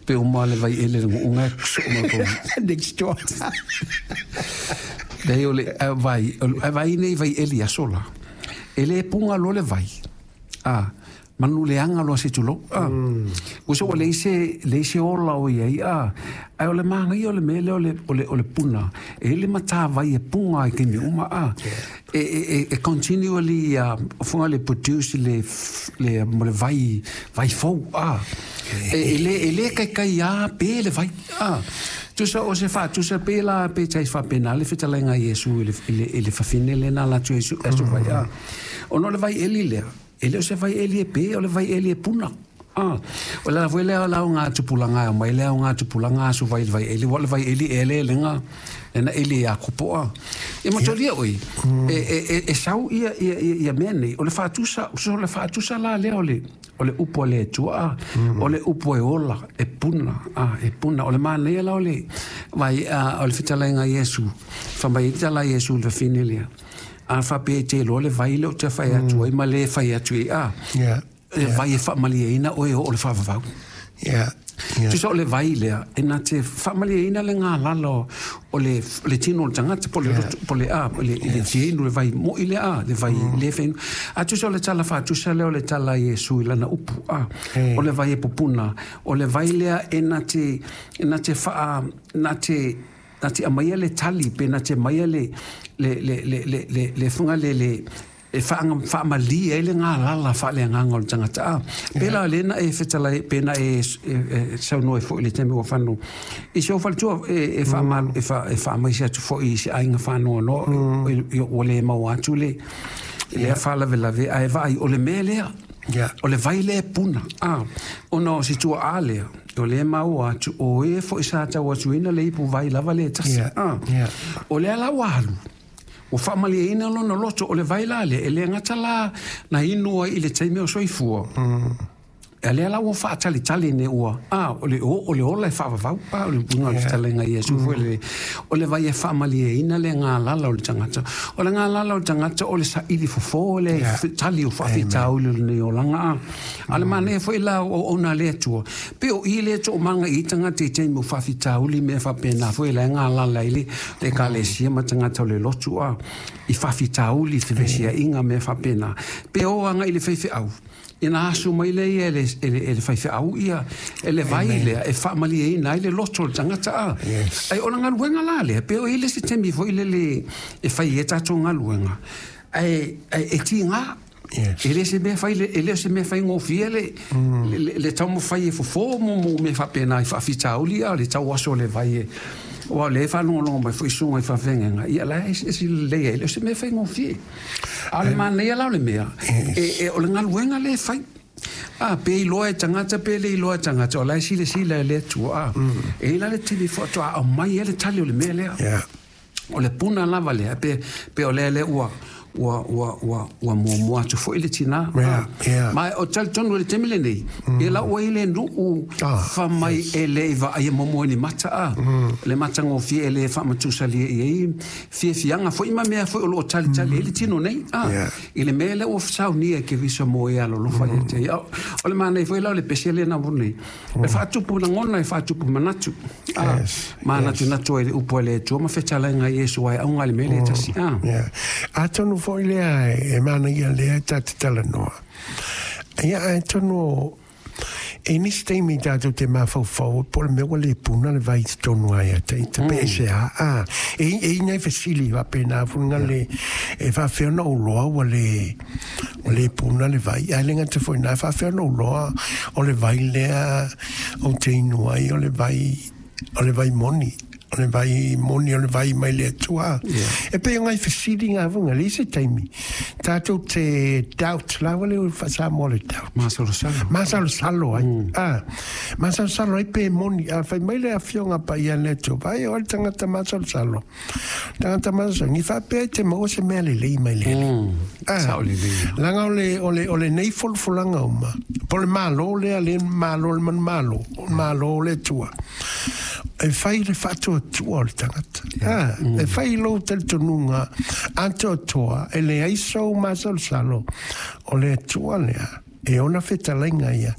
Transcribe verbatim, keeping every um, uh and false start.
Pe uma le vaiele le gu'uga e soo ma le Next door. Leai o le vai, ae vaai nei vaieli i aso la, e le puga loa le vai, a manu leaga loa se tulou, a ua se ua leai se leai se ola o i ai, a ae o le manaia o le mea lea o le o le o le puna, e i ai le matavai e puga ai i taimi uma, a e e e continually fuga le produce le le mo le vai vai fou, a e le e le kaikai a pe le vai, a tusa o se faatusa pe la pe tai faapena le fetalaiga a Iesu i le i le i le fafine lea na ala atu ai aso vai, a ona o le vai eli lea e le o se vai eli e pe, o le vai eli e puna. A o le ala foi lea o le aoga tupulaga e aumai le aoga tupulaga aso vai i le vai eli, ua o le vai eli ea le elega lena eli ia Kopoa e matolia oi e e e sau ia ia ia mea nei o le faatusa o le faatusa la lea o le o le upu a le Atua, a o le upu e ola e puna, a e puna. O le manaia la o le vai a o le fetalaiga a Iesu fai mai ai le tala a Iesu i le fafine lea, a faapea e te iloa le vai lea ou te fai atu ai ma le fai atu ai, a e vai e faamalieina oe e oo i le faavavau. Yeah. Yeah. Tusa o le vai lea, e na te faamalieina le galala o le, le tino o le tagata, po o le loto, po o le a, le, le fienu, le vai moi lea, a, le vai le fenu. A tusa o le tala faatusa lea o le tala a Iesu i lana upu, a, o le vai e pupuna, o le vai lea e na te, e na te faa, na te, na te aumaia le tali, pe na te aumaia le, le, le, le, le, le, le fuga le, le, e faamalie ai le galala faaleagaga o le tagata, a pēlā lea na e fetalai pe na e saunoa ai foi i le taimi ua fano i si ou faletua e e faamaise atu foi i se aiga faanoanoa ua le maua atu le lea faalavelave ae vaai o le mea lea o le vai lea e puna, a ona o se tuaa lea o lea maua atu o e foi sa tau atuina le ipu vai lava lea e tasi, a o lea la ua alu ua faamalieina lona loto o le vai la lea e le gata la na inu ai i le taimi o soifua, a lea la ua faatalitali nei ua a o le o le ola e faavavau, a o le uiga o le fetalaiga a Iesu foi le o le vai e faamalieina le galala o le tagata, o le galala o le tagata o le saili fofo le tali o faafitauli o lenei olaga, a a o le manaia foi la o auauna a le Atua pe o i lea toomaga i tagata i taimi o faafitauli mea faapena foi la e galala ai le Ekalesia ma tagata o le lotu, a i faafitauli fevesiaiga mea faapena pe o agai i le faifeau ina asu mai lea ia e le, e le, e le faifeau ia e le vai lea e faamalieina ai le loto o le tagata, a ai o le galuega la lea pe o i le isi taimi foi lele e fai ai tatou galuega ae e tiga. E le o se mea fai, e le o se mea faigofie le, le, le taumafai e fofo mo mo mea faapena i faafitauli, a o le tau aso o le vai e aua o lea e faalogologo mai foi susuga i faafeagaiga, ia la e eseese lelei ai, e le o se mea faigofie. A o le manaia la o le mea, e, e, o le galuega lea e fai. A, pe iloa e tagata pe le iloa e tagata, o la e silasila e le Atua, a. E i ai la le tele faatoa aumai ai le tali o le mea lea. O le puna lava lea, pe, pe o lea lea ua, ua, ua, ua, ua muamua atu foi le tinā. Yeah, yeah. Ma o talitonu i le taimi lenei, mm. ia la ua i le nuu ah, fa mai yes. E le i vaaia momoa i ni mata, a. Mm. Le matagofie e le faamatusalia i ai fiafiaga foi ma mea foi o loo talitali ai le tino nei, a. Yeah. I le mea lea ua saunia e Keriso mo e alolofa ia te ia. O le manaia foi la o le pese lea na nei. E faatupu lagona, e faatupu manatu. A, Yes, manatunatu ai le upu a le Atua ma fetalaiga a Iesu ai auga i le mea lea e tasi. A. Yeah. Atonu foi lea e manaia lea e ta te talanoa. Ia atonu e nisi taimi tatou te mafaufau po o le mea ua le puna le vai i totonu ai a ita pe e se a a e e i nai fesili faapena fuga le e faafefea ona ou loa ua le ua le puna le vai ae le gata foi i ina e faafefea ona ou loa o le vai lea ou te inu ai o le vai o le vai moni o le vai moni o le vai mai le Atua. E pei o ngai fesili ngā funga, le isi taimi. Tātou te doubt, la wale o Samoa le doubt. Masalosalo. Masalosalo ai. Ah, masalosalo ai pe moni. A fai mai le afioga paia le Atua. Vai o le tangata masalosalo. Tangata masalosalo. Ni whapea i te maua se mea lelei mai le Alii. Mm. Ah, Sao lelei. Langa o le, o le, o le nei folafolanga uma. Po le malo lea, le malo le manu malo. O le malo le Atua. E fai le faatuatua o le tagata. Ah, e fai lou talitonuga atoatoa e leai sou masalosalo o le Atua lea e ona fetalaiga ia.